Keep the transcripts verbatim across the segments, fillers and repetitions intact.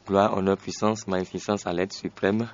Gloire, honneur, puissance, magnificence à l'être suprême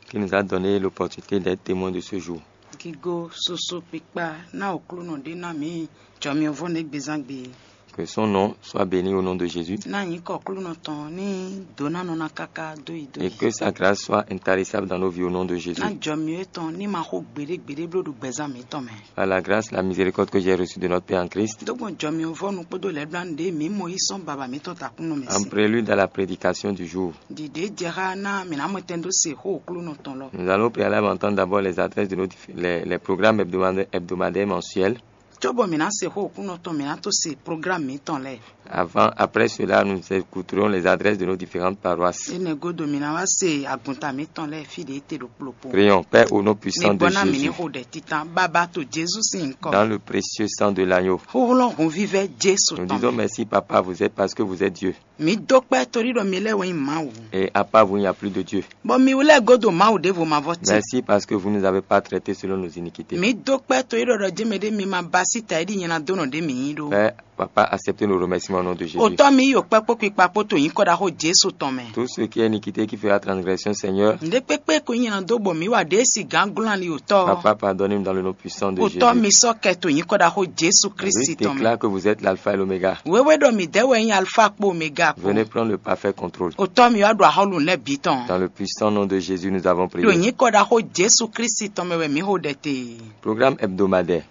qui nous a donné l'opportunité d'être témoin de ce jour. Gigo, susu kpikpa ná Aklúnɔ ɖé ná mǐ jɔmyɔvɔ́ nɛ́ gbezán gbe. Que son nom soit béni au nom de Jésus. Ná nyǐkɔ Aklúnɔ tɔn ní dǒ ná nɔ ná káká dó yi dó Et yi. Que sa grâce soit intarissable dans nos vies au nom de Jésus. Ná jɔmyɔ étɔn ní ma xo gbeɖé gbeɖé bló ɖo gbɛzán mǐtɔn mɛ. Par la grâce, la miséricorde que j'ai reçue de notre Père en Christ, Dó gbɔn jɔmyɔvɔ́nu kpódó lɛ̌ɖblánú ɖé mǐ mɔ yí sɔ́n baba mǐtɔn takúnnú mɛ en sin. Prélude à la prédication du jour, Ɖiɖě jɛ xá ná mǐ ná mɔ tɛn dó se xó Aklúnɔ tɔn lɔ. Nous allons préalablement entendre d'abord les adresses de nos dif- les, les programmes hebdomadaires, hebdomadaires mensuels. Cóbɔ mǐ ná se xó Aklúnɔ tɔn, mǐ ná tó se programme mǐtɔn lɛ́ɛ. Avant, après cela, nous écouterons les adresses de nos différentes paroisses. Énɛ́ gúdo mǐ ná wá se agunta mǐtɔn lɛ́ɛ fí ɖě te ɖo kplokplo. Prions, Père, au nom puissant de Jésus. Mi gbɔ ná mǐ ní xo ɖɛ títán bábá to Jezu sín nyǐkɔ. Dans le précieux sang de l'agneau. Xóxlɔ́ hunvívɛ́ Jésu tɔn. Nous disons merci, Papa, vous êtes parce que vous êtes Dieu. Mǐ dó kpɛ́ torí ɖɔ mi lɛ́ɛ wɛ nyí Mawu. Et à part vous, il n'y a plus de Dieu. Bɔ mi lɛ́ɛ godo Mawu ɖěvo ma vɔ tɛ́. Merci parce que vous ne nous avez pas traités selon nos iniquités. Mǐ dó kpɛ́ torí ɖɔ ɖɔ jɛ́n mɛ ɖé mi ma ba sí ta e ɖi nyɛ ná dó nɔ ɖě mǐ nyí ɖó. Père, Papa, acceptez nos remerciements au nom de Jésus. Otɔ́ mi yi kpɛ́ kpó kpikpa kpó to nyǐkɔ ɖaxó Jesu tɔn mɛ. Tout ce qui est iniquité, qui fera transgression, Seigneur, Nǔɖé kpékpé ko nyí nyɛ ná dó bɔ mǐ wa ɖě si gǎn glɔ́n ali Otɔ́. Papa, pardonnez-nous dans le nom puissant de Jésus. Otɔ́ mi sɔ́ kɛ to nyǐkɔ ɖaxó Jesu Kristi tɔn mɛ. Déclare que vous êtes l'alpha et l'oméga. Wéwé ɖɔ mǐ dɛ́ wɛ nyí alfa kpó omega kpó. Venez prendre le parfait contrôle. Otɔ́ mi wá ɖo axɔ́lú lɛ́ɛ bǐ tɔn. Dans le puissant nom de Jésus, nous avons prié. Ɖo nyǐkɔ ɖaxó Jesu Kristi tɔn mɛ wɛ mǐ xo ɖɛ te. Programme hebdomadaire.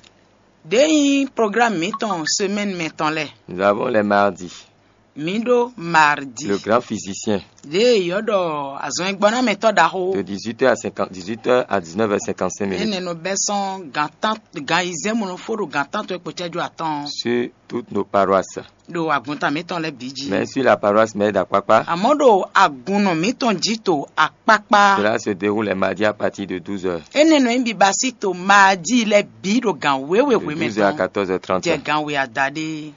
Ɖě nyí programme mǐtɔn semaine mɛ tɔn lɛ́ɛ. Nous avons les mardis. Mǐ ɖó mardi. Le grand physicien. Ɖě yɔ́ ɖɔ azɔn e gbɔ ná mɛtɔ́ ɖaxó. De dix-huit heures à cinquante, dix-huit heures à dix-neuf heures cinquante-cinq minutes. Énɛ́ nɔ bɛ́ sɔ́n gǎn tán gǎn ayizɛ́n mɔ nɔ fó ɖo gǎn tántɔn e kpo cɛ́jú atɔ́ɔ́n. Sur toutes nos paroisses. Ɖo agunta mǐtɔn lɛ́ɛ bǐ jí. Mais sur la paroisse Mère d'Akpakpa, Àmọ́ ɖo agunnɔ mǐtɔn jí to akpákpá. Cela se déroule les mardis à partir de douze heures. Énɛ́ nɔ nyí biba sí to mardi lɛ́ɛ bǐ ɖo gǎn wěwe De hwemɛ douze heures à tɔn. Quatorze heures trente. Jɛ gǎn we adaɖé.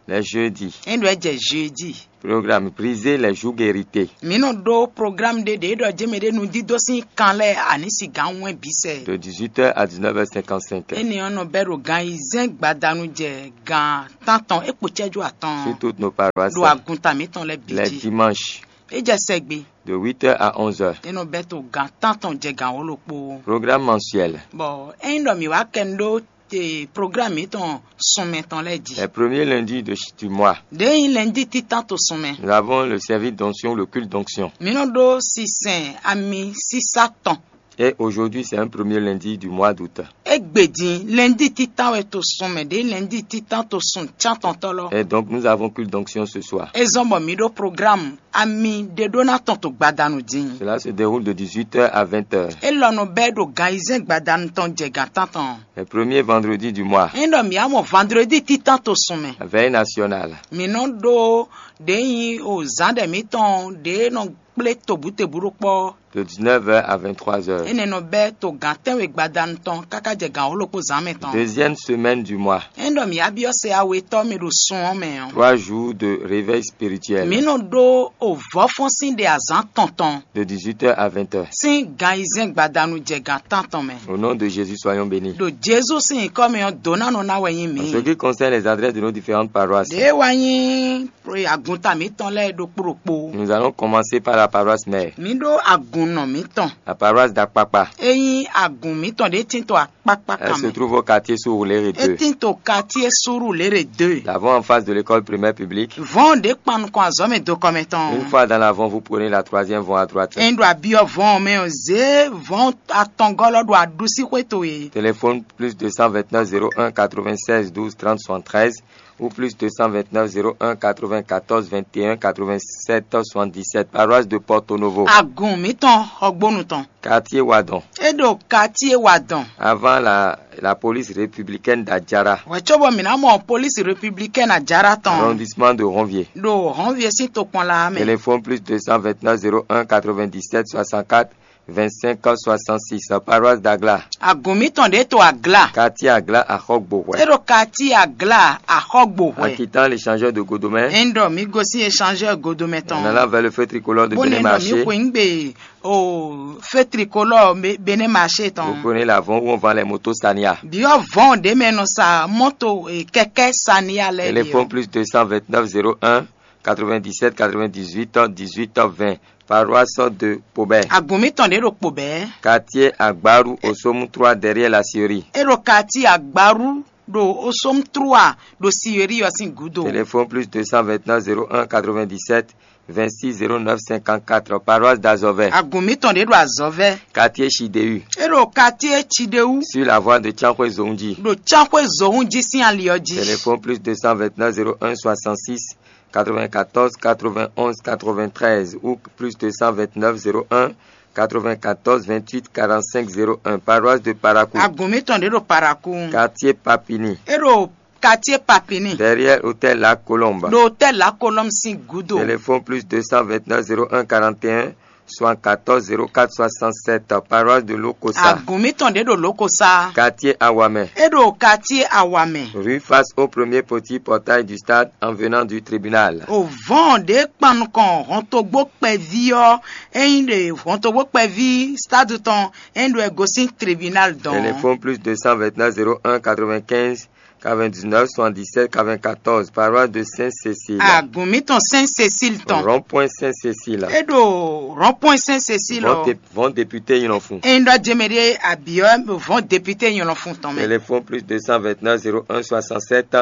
Les jeudis. É ɖo ɛ jɛ jeudi. Programme, briser les jougs hérités. Mǐ nɔ ɖó programme ɖé ɖě ɖɔ jɛ́mɛ ɖé nudídó sín kan lɛ́ɛ aní sigǎn wɛn bǐ sɛ. De dix-huit heures à dix-neuf heures cinquante-cinq. Énɛ́ ɔ́ nɔ bɛ́ ɖo gan ayizɛ́n gbadanu jɛ gan tántɔn é kpo cɛ́jú atɔn. Sur toutes nos paroisses. Ɖo agunta mǐtɔn lɛ́ɛ bǐ Les jí. Dimanches. É jɛ sɛgbe. De huit heures à onze heures. É nɔ bɛ́ to gan tántɔn jɛ gan wǒ ɖokpó. Programme mensuel. Bɔ ényí ɖɔ mǐ wá kɛ nu ɖó te programme mǐtɔn sunmɛ tɔn lɛ́ɛ jí. Les premiers lundis de ch- du mois. Ɖěe nyí lɛndí títán to sunmɛ. Nous avons le service d'onction, le culte d'onction. Mǐ nɔ ɖó sisɛn ami sísá tɔn. Et aujourd'hui, c'est un premier lundi du mois d'août. Égbé din lɛndí títán wɛ to sunmɛ ɖě lɛndí títán to sun cántɔntɔ́ lɔ. Et donc, nous avons culte d'onction ce soir. É zɔ́n bɔ mǐ ɖó programme ami ɖé ɖó ná tɔn to gbadanu din. Cela se déroule de dix-huit heures à vingt heures. É lɔ nɔ bɛ́ ɖo gan ayizɛ́n gbadanu tɔn jɛ gan tántɔn. Le premier vendredi du mois. Ényí ɖɔ mǐ á mɔ vandredi títán to sun mɛ. La veille nationale. Mǐ nɔ ɖó ɖě nyí o zǎn ɖɛ mǐtɔn ɖě nɔ kplé tobǔtebǔ ɖó kpɔ́. De dix-neuf heures à vingt-trois heures. Énɛ́ nɔ bɛ́ to gǎn tɛ́nwe gbadanu tɔn káká jɛ gǎn wǒ ɖokpó zǎn mɛ tɔn. Deuxième semaine du mois. Ényí ɖɔ mǐ á byɔ́ sɛ awetɔ́ mi ɖo sun ɔ́ mɛ ɔ́. Trois jours de réveil spirituel. Mǐ nɔ ɖó o vɔ̌fɔ́n sín ɖe azǎn tɔn tɔn. De dix-huit heures à vingt heures. Sín gan ayizɛ́n gbadanu jɛ gan tántɔn mɛ. Au nom de Jésus, soyons bénis. Ɖo Jezu sín nyǐkɔ mɛ ɔ́, dǒ ná nɔ ná wɛ nyí mǐ. En ce qui concerne les adresses de nos différentes paroisses, Ɖě wá nyí agunta mǐtɔn lɛ́ɛ ɖokpó ɖokpó. Nous allons commencer par la paroisse mère. Mǐ ɖó agunnɔ mǐtɔn. La paroisse d'Akpakpa. É nyí agun mǐtɔn ɖě tín to akpákpá. Elle kan se mɛ. Trouve au quartier Surulere É deux. Tín to quartier Surulere deux. D'abord en face de l'école primaire publique. Vɔ̌n ɖě kpan nukɔn azɔ̌ mɛ do kɔmɛ tɔn. Une fois dans l'avant, vous prenez la troisième voie à droite. Ényí ɖo abyɔ́ vɔ̌n mɛ ɔ́, zě vɔ̌n atɔngɔ́ lɔ ɖo aɖusíxwé towe. Téléphone plus deux cent vingt-neuf zéro un quatre-vingt-seize douze trente soixante-treize ou plus deux cent vingt-neuf zéro un quatre-vingt-quatorze vingt et un quatre-vingt-sept soixante-dix-sept, paroisse de Porto Novo. Agun mǐtɔn xɔgbónu tɔn. Quartier Wadon. É ɖo quartier Wadon. Avant la, la police républicaine d'Adjara. Wɛ cóbɔ mǐ ná mɔ police républicaine Adjara tɔn. Arrondissement de Ronvier. Ɖo Ronvier sín tokpɔnla mɛ. Téléphone plus deux cent vingt-neuf zéro un quatre-vingt-dix-sept soixante-quatre vingt-cinq soixante-six, paroisse d'Agla. Agun mǐtɔn ɖě to Agla. Quartier Agla, Axɔgbohwɛ. É ɖo quartier Agla Axɔgbohwɛ. En quittant l'échangeur de Godomè. Ényí ɖɔ mǐ gosín échangeur Godomè tɔn. En allant vers le feu tricolore de Bénin Marché. Bó ne ɖɔ mǐ xweyǐgbe o feu tricolore Bénin Marché tɔn. Vous prenez l'avant où on vend les motos Sania. Biɔ vɔn ɖě mɛ nɔ sa mɔto kɛkɛ Sania lɛ. Téléphone plus deux cent vingt-neuf zéro un quatre-vingt-dix-sept, quatre-vingt-dix-huit, dix-huit, vingt. Paroisse de Pobé. Agun mǐtɔn ɖě ɖo Kpobɛ̌. Quartier Agbaru, au Somme trois, derrière la Syrie. É ɖo quartier Agbaru ɖo Osom trois ɖo Siyeri ɔ́ sín gǔdo. Téléphone plus deux cent vingt-neuf zéro un quatre-vingt-dix-sept vingt-six zéro neuf cinquante-quatre, paroisse d'Azovais. Agun mǐtɔn ɖě ɖo Azɔvɛ. Quartier Chidéu. É ɖo quartier Chidewu. Sur la voie de Tiankhoué Zongji. Ɖo Tiankhoué Zongji sín ali ɔ́ jí. Téléphone plus deux cent vingt-neuf zéro un soixante-six quatre-vingt-quatorze quatre-vingt-onze quatre-vingt-treize ou plus deux cent vingt-neuf zéro un quatre-vingt-quatorze vingt-huit quarante-cinq zéro un, paroisse de Parakou. Agun mǐtɔn ɖě ɖo Parakou. Quartier Papini. É ɖo quartier Papini. Derrière hôtel La Colombe. Ɖo hôtel La Colombe sín gúdo. Téléphone plus deux cent vingt-neuf zéro un quarante et un soixante-quatorze zéro quatre soixante-sept, paroisse de Lokosa. Agun mǐtɔn ɖě ɖo Lokosa. Quartier Awamɛ. É ɖo quartier Awamɛ. Rue face au premier petit portail du stade en venant du tribunal. O vɔn ɖě kpan nukɔn hɔntogbó kpɛví ɔ́, é nyí ɖe hɔntogbó kpɛví stade tɔn, é nyí ɖo ɛ gosín tribunal dɔn. Téléphone plus deux cent vingt-neuf zéro un quatre-vingt-quinze quatre-vingt-dix-neuf soixante-dix-sept quatre-vingt-quatorze, paroisse de Sainte-Cécile. Agun mǐtɔn Sainte-Cécile tɔn. Rond-point Sainte-Cécile. É ɖo rond-point Sainte-Cécile. Vɔn ɔ́. Dé-, vɔn député Nylɔnfun. É ɖɔ jɛmɛ ɖé abiyɔ vɔn député Nylɔnfun tɔn mɛ. Téléphone plus deux cent vingt-neuf zéro un soixante-sept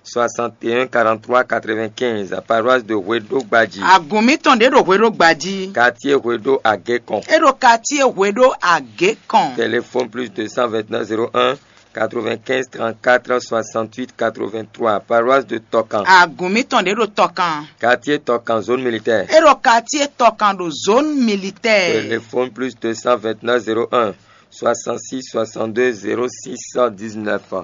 soixante et un quarante-trois quatre-vingt-quinze, paroisse de Hweɖo Gbadji. Agun mǐtɔn ɖě ɖo Hweɖo Gbadji. Quartier Hweɖo Agékɔn. É ɖo quartier Hweɖo Agékɔn. Téléphone plus deux cent vingt-neuf zéro un quatre-vingt-quinze trente-quatre soixante-huit quatre-vingt-trois, paroisse de Tɔkan. Agun mǐtɔn ɖě ɖo Tɔkan. Quartier Tɔkan, zone militaire. É ɖo quartier Tɔkan ɖo zone militaire. Téléphone plus deux cent vingt-neuf zéro un soixante-six soixante-deux zéro six dix-neuf,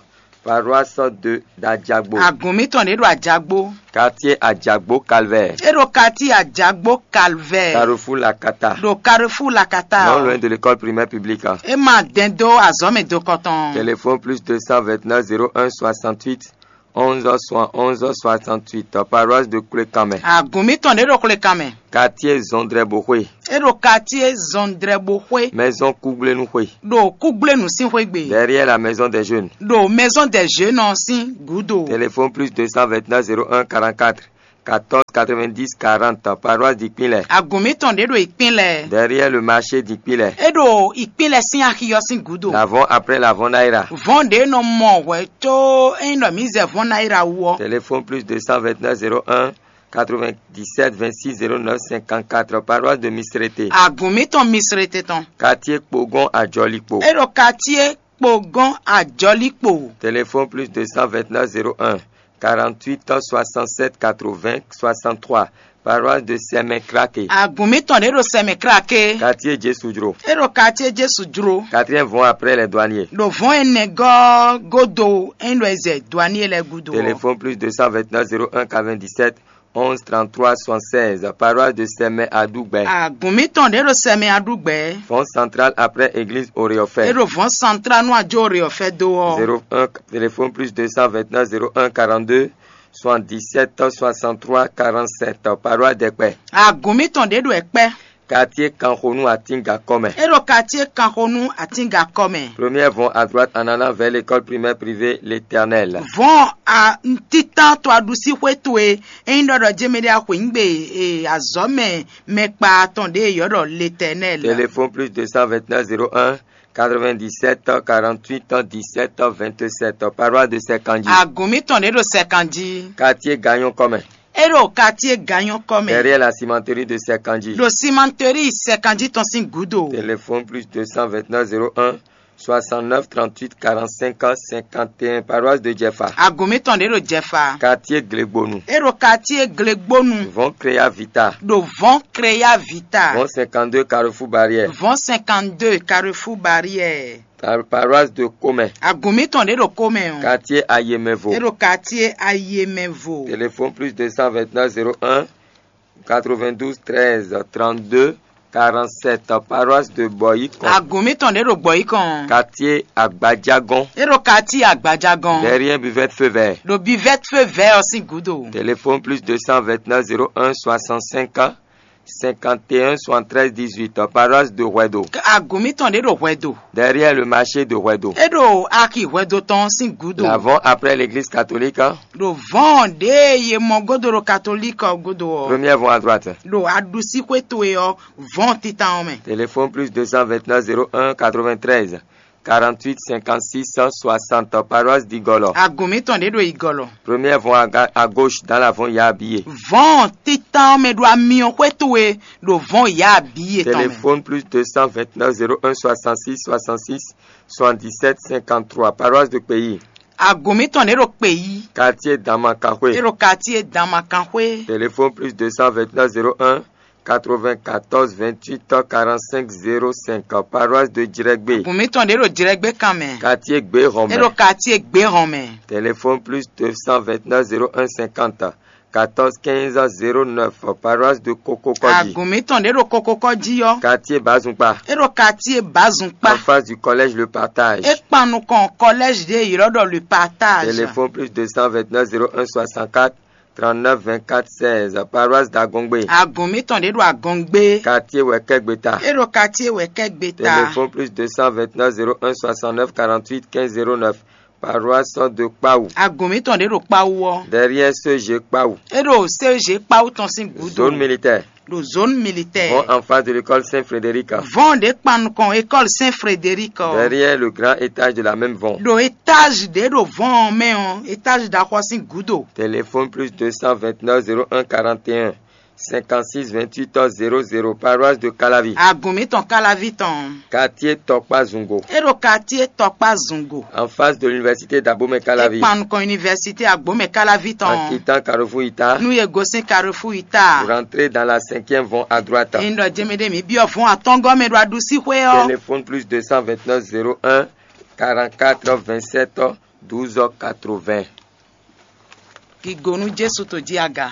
paroisse de d'Adjagbo. Agun mǐtɔn ɖě ɖo Ajagbo. Quartier Ajagbo Calvaire. É ɖo quartier Ajagbo Calvaire. Carrefour Lakata. Ɖo Carrefour Lakata. Non loin de l'école primaire publique. É ma dɛn dó azɔ̌ mɛ dokɔ tɔn. Téléphone plus deux cent vingt-neuf zéro un soixante-huit onze soixante-onze soixante-huit, paroisse de Koulékamɛ. Agun mǐtɔn ɖě ɖo Koulékamɛ. Quartier Zɔndrɛboxwe. É ɖo quartier Zɔndrɛboxwe. Maison Kúgblénuxwe. Ɖo Kúgblénu sín xwé gbe. Derrière la maison des jeunes. Ɖo maison des jeunes ɔ́ sín gǔdo. Téléphone plus deux cent vingt-neuf zéro un quarante-quatre quatorze quatre-vingt-dix quarante, paroisse d'Ikpinlɛ. Agun mǐtɔn ɖě ɖo Ikpinlɛ. Derrière le marché d'Ikpinlɛ. É ɖo Ikpinlɛ sín axi ɔ́ sín gǔdo. L'avant après l'avant Naira. Vɔn ɖě nɔ mɔ hwɛ có é nyí ɖɔ mǐ zɛ vɔn Naira wú ɔ́. Téléphone plus deux cent vingt-neuf zéro un quatre-vingt-dix-sept vingt-six zéro neuf cinquante-quatre, paroisse de Misrete. Agun mǐtɔn Misrete tɔn. Quartier Kpogɔn Ajɔlikpo. É ɖo quartier Kpogɔn Ajɔlikpo. Téléphone plus deux cent vingt-neuf zéro un quarante-huit soixante-sept quatre-vingts soixante-trois, paroisse de Sɛmɛ Krake. Agun mǐtɔn ɖě ɖo Sɛmɛ Krake. Quartier Jésù Jro. É ɖo quartier Jésù Jro. Quatrième vɔn après les douaniers. Ɖo vɔn énɛ́ gɔ́ godo é nyí ɖɔ è zɛ douanier lɛ́ɛ gúdo ɔ́. Téléphone plus deux cent vingt-neuf zéro un quatre-vingt-dix-sept onze trente-trois soixante-seize, paroisse de Sɛmɛ Aɖugbɛ. Agun mǐtɔn ɖě ɖo Sɛmɛ Aɖugbɛ. Vɔn central après église Oreɔfɛ. É ɖo vɔn central nú ajó Oreɔfɛ dó ɔ́. Zéro un, téléphone plus deux cent vingt-neuf zéro un quarante-deux soixante-dix-sept soixante-trois quarante-sept, paroisse Dɛkpɛ. Agun mǐtɔn ɖě ɖo Ɛkpɛ. Quartier Kanxonu Atinga kɔmɛ. É ɖo quartier Kanxonu Atinga kɔmɛ. Première vont à droite en allant vers l'école primaire privée L'Éternel. Vɔn a ntitán to aɖusíxwé towe é nyí ɖɔ ɖɔ jɛmɛ ɖé axwǐngbe e azɔ̌ mɛ mɛkpa tɔn ɖě yɔ́ ɖɔ L'Éternel. Téléphone plus deux cent vingt-neuf zéro un quatre-vingt-dix-sept quarante-huit dix-sept vingt-sept, paroisse de Sɛkanji. Agun mǐtɔn ɖě ɖo Sɛkanji. Quartier Gagnon kɔmɛ. É ɖo quartier Gagnon kɔmɛ. Derrière la cimenterie de Sɛkanji. Ɖo cimenterie Sɛkanji tɔn sín gǔdo. Téléphone plus deux cent vingt-neuf zéro un soixante-neuf trente-huit quarante-cinq cinquante et un, paroisse de Jɛfa. Agun mǐtɔn ɖě ɖo Jɛfa. Quartier Glegbonu. É ɖo quartier Glegbonu. Vɔn Créa Vita. Ɖo vɔn Créa Vita. Vɔn cinquante-deux Carrefour Barrière. Vɔn cinquante-deux Carrefour Barrière. Par-, paroisse de Comɛ. Agun mǐtɔn ɖě ɖo Comɛ ɔ́. Quartier Ayemɛvo. É ɖo quartier Ayemɛvo. Téléphone plus deux cent vingt-neuf zéro un quatre-vingt-douze treize trente-deux quarante-sept, paroisse de Bɔyikɔn. Agun mǐtɔn ɖě ɖo Bɔyikɔn. Quartier Agbajagɔn. É ɖo quartier Agbajagɔn. Derrière buvette feu vert. Ɖo buvette feu vert ɔ́ sín gǔdo. Téléphone plus deux cent vingt-neuf zéro un soixante-cinq cinquante et un soixante-treize dix-huit, paroisse de Huedo. Agun mǐtɔn ɖě ɖo Hwɛdo. Derrière le marché de Huedo. É ɖo axi Hwɛdo tɔn sín gǔdo. L'avant après l'église catholique, hein. Ɖo vɔn ɖě ye mɔ godo ɖo katolík ɔ́ gúdo ɔ́. Premier vont à droite. Ɖo aɖusíxwé towe ɔ́, vɔn titan ɔ́ mɛ. Téléphone plus deux cent vingt-neuf zéro un quatre-vingt-treize quarante-huit cinquante-six cent soixante, paroisse d'Igolo. Agun mǐtɔn ɖě ɖo Igolo. Premier vont à, ga- à gauche dans l'avant Yabiye. Vɔn titan ɔ́ mɛ ɖo amyɔxwé towe ɖo vɔn Yabiye tɔn mɛ. Téléphone plus deux cent vingt-neuf zéro un soixante-six soixante-six soixante-dix-sept cinquante-trois, paroisse de Pays. Agun mǐtɔn ɖě ɖo Kpeyi. Quartier Damakanxwé. É ɖo quartier Damakanxwé. Téléphone plus deux cent vingt-neuf zéro un quatre-vingt-quatorze vingt-huit quarante-cinq zéro cinq, paroisse de Djrɛgbé. Agun mǐtɔn ɖě ɖo Jrɛgbé kan mɛ. Quartier Gbéhɔn É ɖo mɛ. Quartier Gbéhɔn mɛ. Téléphone plus deux cent vingt-neuf zéro un cinquante quatorze quinze zéro neuf, paroisse de Kokokɔji. Agun mǐtɔn ɖě ɖo Kokokɔji ɔ́. Quartier Bazumpa. É ɖo quartier Bazumpa. En face du collège Le Partage. É kpan nukɔn collège ɖě ylɔ́ ɖɔ Le Partage. Téléphone plus deux cent vingt-neuf zéro un soixante-quatre trente-neuf vingt-quatre seize, paroisse d'Agongbe. Agun mǐtɔn ɖě ɖo Agongbe. Quartier Wɛkɛgbeta. É ɖo quartier Wɛkɛgbeta. Téléphone plus deux cent vingt-neuf zéro un soixante-neuf quarante-huit quinze zéro neuf, paroisse de Kpawu. Agun mǐtɔn ɖě ɖo Kpawu ɔ́. Derrière C G Kpawu. É ɖo C G Kpawu tɔn sín gǔdo. Zone militaire. Ɖo zone militaire. Vont en face de l'école Saint-Frédéric. Vɔn ɖě kpan nukɔn école Saint Frédéric ɔ́. Derrière le grand étage de la même vont. Ɖo étage ɖě ɖo vɔn ɔ́ mɛ ɔ́, étage ɖaxɔ sín gǔdo. Téléphone plus deux cent vingt-neuf zéro un quarante et un cinquante-six vingt-huit zéro zéro, paroisse de Calavi. Agun mǐtɔn Calavi tɔn. Quartier Tɔkpá Zungo. É ɖo quartier Tɔkpá Zungo. En face de l'université d'Abomey Calavi. É kpan nukɔn université Agbomɛ Calavi tɔn. En quittant Carrefour Ita. Nú ye gosín Carrefour Ita. Vous rentrez dans la cinquième vont à droite. Ényí ɖɔ jɛmɛ ɖé mǐ byɔ́ vɔn atɔ́ngɔ́ mɛ ɖo aɖusíxwé ɔ́. Téléphone plus deux cent vingt-neuf zéro un quarante-quatre vingt-sept douze quatre-vingts. Gigo nú Jesu to jí aga.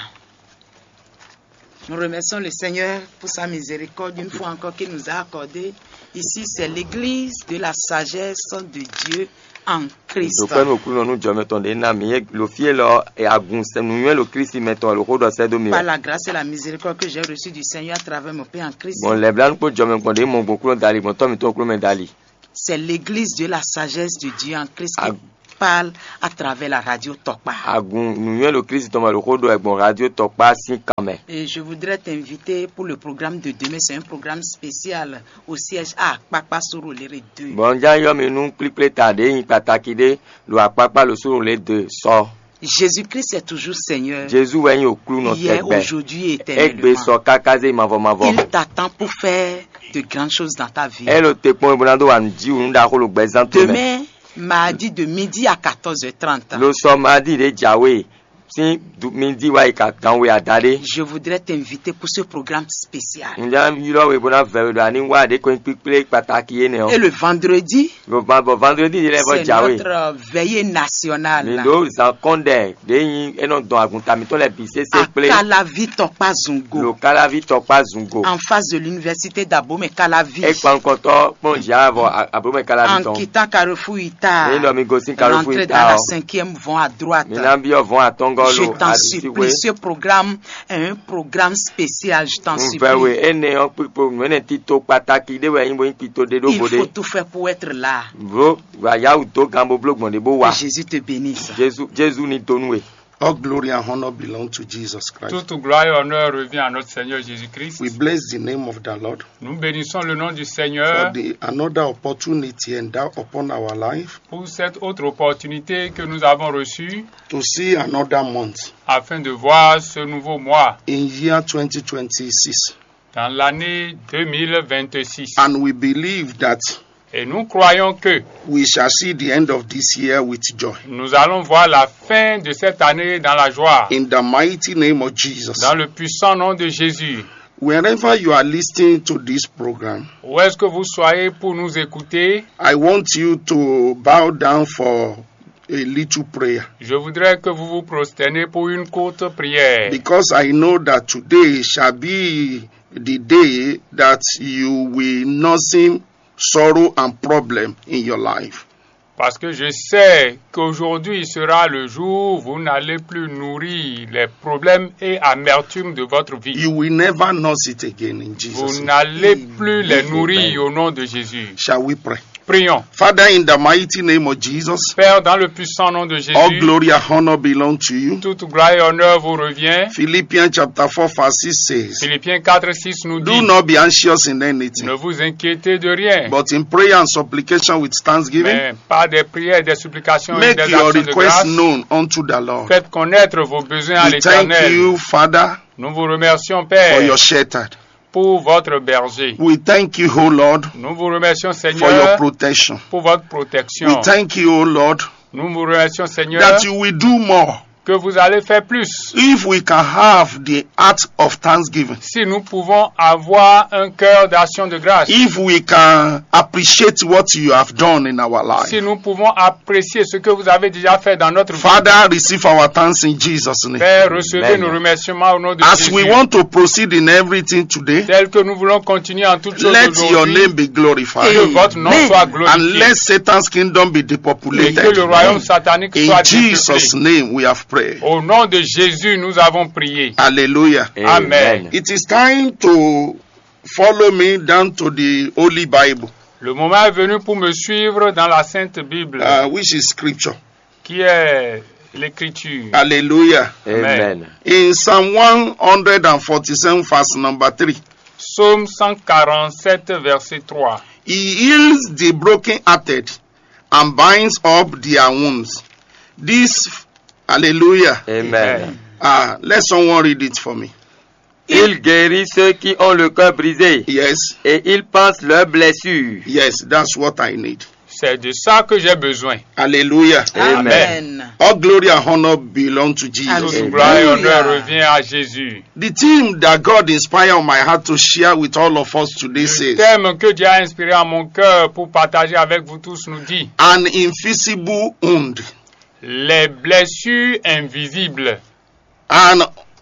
Nous remercions le Seigneur pour sa miséricorde une fois encore qu'il nous a accordé. Ici, c'est l'église de la sagesse de Dieu en Christ. Ɖokpɛ́ nú Aklúnɔ nú jɔmɛ tɔn ɖě ná mǐ é lo fí élɔ́ e agun sɛ nǔnywɛ́ ɖo Klísu mɛ tɔn wɛ ɖo xó ɖɔ sɛ́ dó mì Par wɛ. La grâce et la miséricorde que j'ai reçue du Seigneur à travers mon Père en Christ. Gbɔn lɛ̌blánú kpó jɔmɛ gbɔn ɖě mɔ gbɔn Aklúnɔ dali, gbɔn tɔ́ mǐtɔn Aklúnɔ mɛ dali. C'est l'église de la sagesse de Dieu en Christ qui Ag- parle à travers la radio Tokpa. Agun nǔnywɛ́ ɖo Klísu tɔn mɛ ɖo xó ɖɔ wɛ gbɔn radio Tɔkpá sín kan mɛ. Et je voudrais t'inviter pour le programme de demain. C'est un programme spécial au siège à Kpakpa Sorolere deux. Bɔ un já yɔ mi nú kplíkplé ta ɖě nyi kpataki ɖé ɖo akpákpá ɖo Sorolere deux sɔ. Jésus-Christ est toujours Seigneur. Jezu wɛ nyí Aklúnɔ Hier, tɛgbɛ. Aujourd'hui et éternellement. Égbé sɔ káká zé mavɔ mavɔ. Il t'attend pour faire de grandes choses dans ta vie. É ɖo te kpɔ́n bó ná dó wa nǔ jí wǔ nú ɖaxó ɖo gbɛzán towe mɛ. Demain, mardi de midi à quatorze heures trente. Lo sɔ mardi ɖě jǎwe sín du- midi wá yi ka gan we adaɖé. Je voudrais t'inviter pour ce programme spécial. Un já ylɔ́ we bó ná vɛ we ɖɔ a ní wá ɖě ko nyí kpíkplé kpataki énɛ́ ɔ́. Et le vendredi, Lo va bɔ vendredi ɖě lɛ́ɛ vɔ c'est jǎwe. Notre veillée nationale. Mi ɖo zan kɔn ɖɛ ɖě nyí é nɔ dɔn agunta mǐtɔn lɛ́ɛ bǐ sésé À kplé. Kalavi Tokpa Zungo. Lo Kalavi Tɔkpá Zungo. En face de l'université d'Abomey Calavi. É kpan nukɔntɔ kpɔn jǎ vɔ Abomey Calavi tɔn. En quittant Carrefour Ita. Ní ɖɔ mi gosín Carrefour Ita ɔ́. Rentrer dans la cinquième vont à droite. Mi ná byɔ́ vɔn atɔngɔ́ lo. Je t'en supplie, ce programme est un programme spécial, je t'en supplie. Un vɛ we énɛ́ ɔ́ kpikpo nǔ énɛ́ tito kpataki ɖé wɛ nyí bo nyí tito ɖé ɖó bo ɖé. Il faut tout faire pour être là. Bó wǎ yá wǔ dó gan bó bló gbɔn ɖě bó wá. Que Jésus te bénisse. Jezu Jezu ní dó nú we. All glory and honor belong to Jesus Christ. Toute gloire et honneur revient à notre Seigneur Jésus-Christ. We bless the name of the Lord. Nous bénissons le nom du Seigneur. For the another opportunity endowed upon our life. Pour cette autre opportunité que nous avons reçue. To see another month. Afin de voir ce nouveau mois. In year twenty twenty-six. Dans l'année deux mille vingt-six. And we believe that. Et nous croyons que. We shall see the end of this year with joy. Nous allons voir la fin de cette année dans la joie. In the mighty name of Jesus. Dans le puissant nom de Jésus. Wherever you are listening to this program, où est-ce que vous soyez pour nous écouter, I want you to bow down for a little prayer. Je voudrais que vous vous prosternez pour une courte prière. Because I know that today shall be the day that you will not see sorrow and problem in your life. Parce que je sais qu'aujourd'hui sera le jour où vous n'allez plus nourrir les problèmes et amertume de votre vie. You will never nurse it again in Jesus' Vous name. N'allez plus les nourrir au nom de Jésus. Shall we pray? Prions. Father, in the mighty name of Jesus, Père, dans le puissant nom de all Jésus, glory and honor belong to you. Toute gloire et honneur vous revient. Philippians chapter four, verse six says, Philippiens quatre six nous Do dit, not be anxious in anything, ne vous inquiétez de rien, but in prayer and supplication with thanksgiving, mais par des prières, des supplications et make des your actions de requests grâce, known unto the Lord. Faites connaître vos besoins à We thank l'Éternel. You, Father, Nous vous remercions, for Père, your shepherd. Pour votre berger. We thank you, O Lord, Nous vous remercions, for your Seigneur, protection. Pour votre protection. We thank you, O Lord, Nous vous remercions, Seigneur, that you will do more Que vous allez faire plus. If we can have the heart of thanksgiving, Si nous pouvons avoir un cœur d'action de grâce, if we can appreciate what you have done in our life, si nous pouvons apprécier ce que vous avez déjà fait dans notre vie, Father, receive our thanks in Jesus' name. Père, recevez Amen. Nos remerciements au nom de As Jésus. We want to proceed in everything today, Tel que nous voulons continuer en toutes choses let your aujourd'hui, name be glorified. Que votre nom Amen. soit And glorifié let Satan's kingdom be Et que le depopulated. royaume satanique In soit Jesus' dépeuplé. Name we have prayed. Au nom de Jésus, nous avons prié. Hallelujah. Amen. It is time to follow me down to the Holy Bible, Le moment est venu pour me suivre dans la Sainte Bible, uh, which is scripture. Qui est l'Écriture. Hallelujah. Amen. In Psalm one forty-seven, verse number three, Psaume cent quarante-sept, verset trois. He heals the brokenhearted and binds up their wounds. This, hallelujah. Amen. Ah, let someone read it for me. Il guérit ceux qui ont le cœur brisé Yes, et il panse leurs blessures. Yes, that's what I need. C'est de ça que j'ai besoin. Hallelujah. Amen. Amen. All glory and honor belong to Jesus. Toute Hallelujah. Gloire et honneur revient à Jésus. The theme that God inspired my heart to share with all of us today Le says, thème que Dieu a inspiré à mon cœur pour partager avec vous tous nous dit an invisible wound. Les blessures invisibles. An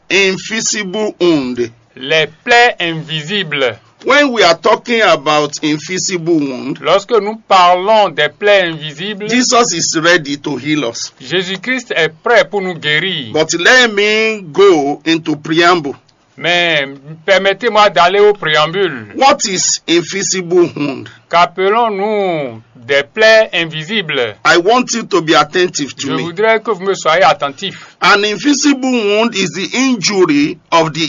invisible wound. Les plaies invisibles. When we are talking about invisible wound, Lorsque nous parlons des plaies invisibles, Jesus is ready to heal us. Jésus-Christ est prêt pour nous guérir. But let me go into preamble. Mais permettez-moi d'aller au préambule. What is invisible wound? Qu'appelons-nous des plaies invisibles? I want you to be attentive to Je me. Voudrais que vous me soyez attentifs. An invisible wound is the injury of the